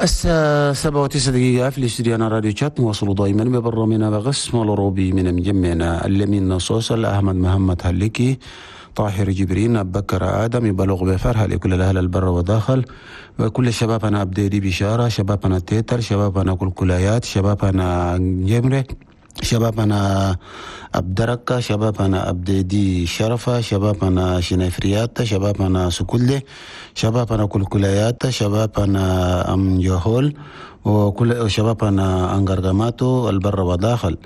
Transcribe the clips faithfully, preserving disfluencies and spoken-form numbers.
الساعة سبعة وتسعة دقيقة في الاستوديو أنا راديو شات نواصل دائما ببرنامجنا بقسم الأوروبي من مجمعنا اللمين صوصل أحمد محمد هلكي طاهر جبرين بكر آدم يبلغ بفرحة لكل الأهل البر وداخل وكل الشباب أنا أبدي بشارة شباب أنا تيتر شباب أنا كل كلايات شباب أنا جمرة شباب أنا أبدركة شباب أنا أبدي شرفة شباب أنا شنفريات شباب أنا سكولة شباب أنا كل كلايات شباب أنا أم جهول وكل شباب أنا أنغرغماتو البر وداخل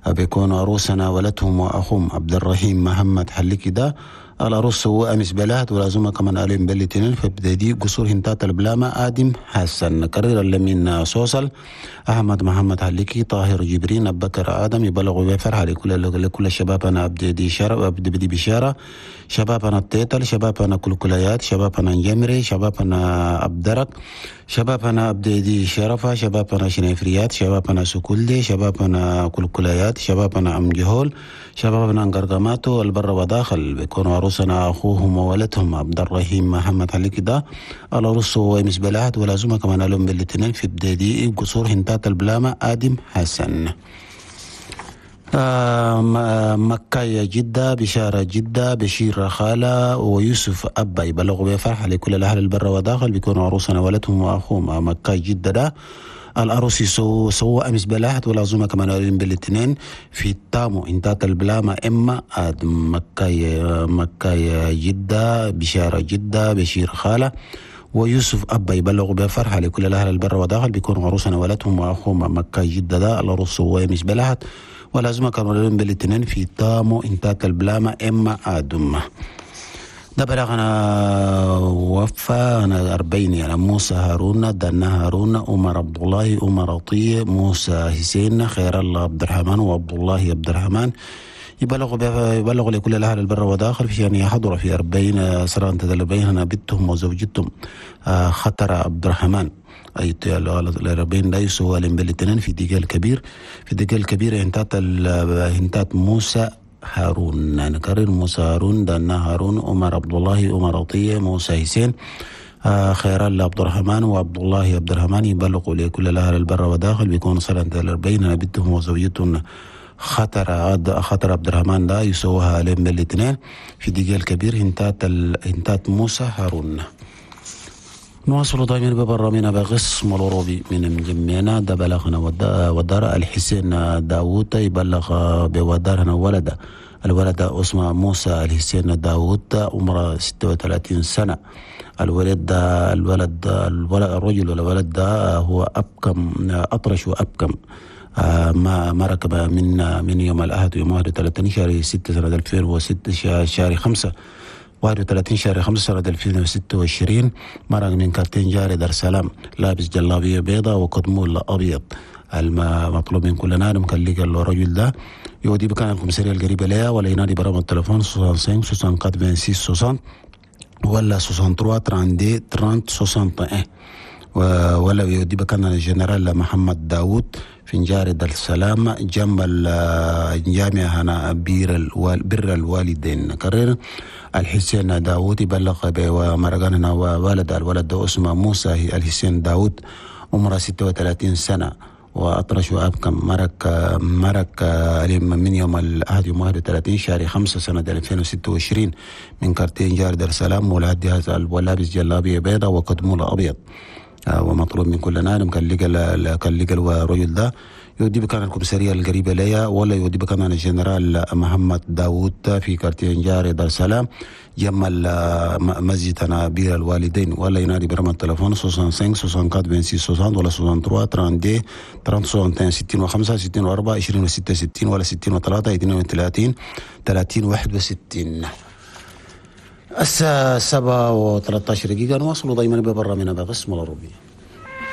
بيكون عروسنا ولدهم وأخوهم عبد الرحيم محمد حليكي ده العروس هو أمس بلهت ولازمة كمان عليهم بلتنين فبدي قصور هنتات البلامة آدم حسن كرر اللمين صوصل أحمد محمد حليكي طاهر جبرين بكر آدم يبلغوا بفرحة لكل لكل الشباب أنا أبدي شرف أبدي بدي بشارة شباب أنا التيتل شباب أنا كل كليات شباب أنا جمري شباب أنا أبدرك شباب أنا أبدي شرفة شباب أنا شنفريات شباب أنا سكولدي شباب أنا كل كليات شباب أنا أم جهول شباب أنا أنقرقماتو البر وداخل بيكونوا عروسنا أخوهم وولدهم عبد الرحيم محمد علي ده العروس هو مس بلاد ولازمة كمان لهم بالاثنين في بداية قصور هنتات البلامة آدم حسن. آه مكة جدة بشارة جدة بشير خالة ويوسف أبا يبلغوا بفرحة لكل الأهل البر وداخل بيكونوا عروسنا ولدهم وأخوهم مكة جدة ده الأروسي سو سو أمس بلاحت والعزومة كمان قالين بالاثنين في التامو انتات البلامة إما آدم مكة مكة جدة بشارة جدة بشير خالة ويوسف أبا يبلغوا بفرحة لكل الأهل البر وداخل بيكونوا عروسنا ولدهم وأخوهم مكة جدة ده الأروس هو أمس بلاحت والعزومة كانوا قالين بالاثنين في التامو انتات البلامة إما آدم ده بلغنا وفا أنا أربعين يعني موسى هارون دنا هارون عمر عبد الله عمر عطية موسى حسين خير الله عبد الرحمن وعبد الله عبد الرحمن يبلغ يبلغ لكل الأهل البر وداخل في أن يحضر في أربعين سنة تدلبين هنا بنتهم وزوجتهم خطر عبد الرحمن أي الأربعين لا يسوى بالاثنين في دجال الكبير في دجال الكبير هنتات هنتات موسى هارون نكرر موسى هارون دنا هارون عمر عبد الله عمر عطية موسى حسين آه خير الله عبد الرحمن وعبد الله عبد الرحمن يبلغوا لكل الأهل البر وداخل بيكون سنة الأربعين بنتهم وزوجتهم خطر خطر عبد الرحمن ده يسوها عليهم بالاثنين في دجال الكبير هنتات ال... هنتات موسى هارون. نواصل دائما ببرنامجنا بقسم الأوروبي من مجمعنا ده بلغنا ودار الحسين داوود يبلغ بودارنا ولده الولد اسمه موسى الحسين داوود عمره ستة وثلاثين سنة. الولد ده الولد الولد الرجل الولد ده هو أبكم أطرش وأبكم ما ما ركب من من يوم الأحد يوم واحد وثلاثين شهر ستة سنة ألفين وستة شهر خمسة واحد وثلاثين شهر خمسة سنة ألفين وستة وعشرين مرق من كارتين جاري دار سلام لابس جلابية بيضاء وقدمول أبيض. المطلوب من كل نادم كان لقى الرجل ده يودي بكان الكوميسارية القريبة ليها ولا ينادي برقم التليفون خمسة وستين أربعة وستين ستين ولا ثلاثة وثلاثين ثلاثة وثلاثين واحد ولا يودي بكان الجنرال محمد داوود في جاري دار السلام جنب الجامعة هنا بير الوال بر الوالدين. كرر الحسين داوود يبلغ بمرقان وولد الولد اسمه موسى الحسين داوود عمره ستة وثلاثين سنة وأطرش وأبكم مرك مرك من يوم الأحد يوم واحد وثلاثين شهر خمسة سنة ألفين وستة وعشرين من كارتين جار دار السلام ولاد هذا ولابس جلابية بيضاء وقدمولة أبيض ومطلوب من كل نادم كان لقى كان لقى الرجل ده يودي بكان الكوميسارية القريبة ليا ولا يودي بكان الجنرال محمد داوود في كارتين جاري دار السلام جنب مسجد بير الوالدين ولا ينادي برقم التليفون خمسة وستين أربعة وستين ستين ولا ثلاثة وثلاثين ثلاثة ستين وخمسة ستين وأربعة عشرين وستة ستين ولا ستين وثلاثة اثنين وثلاثين ثلاثين واحد وستين. الساعة سبعة وثلاثة عشر دقيقة نواصل دائما ببرنامجنا بقسم الأوروبي.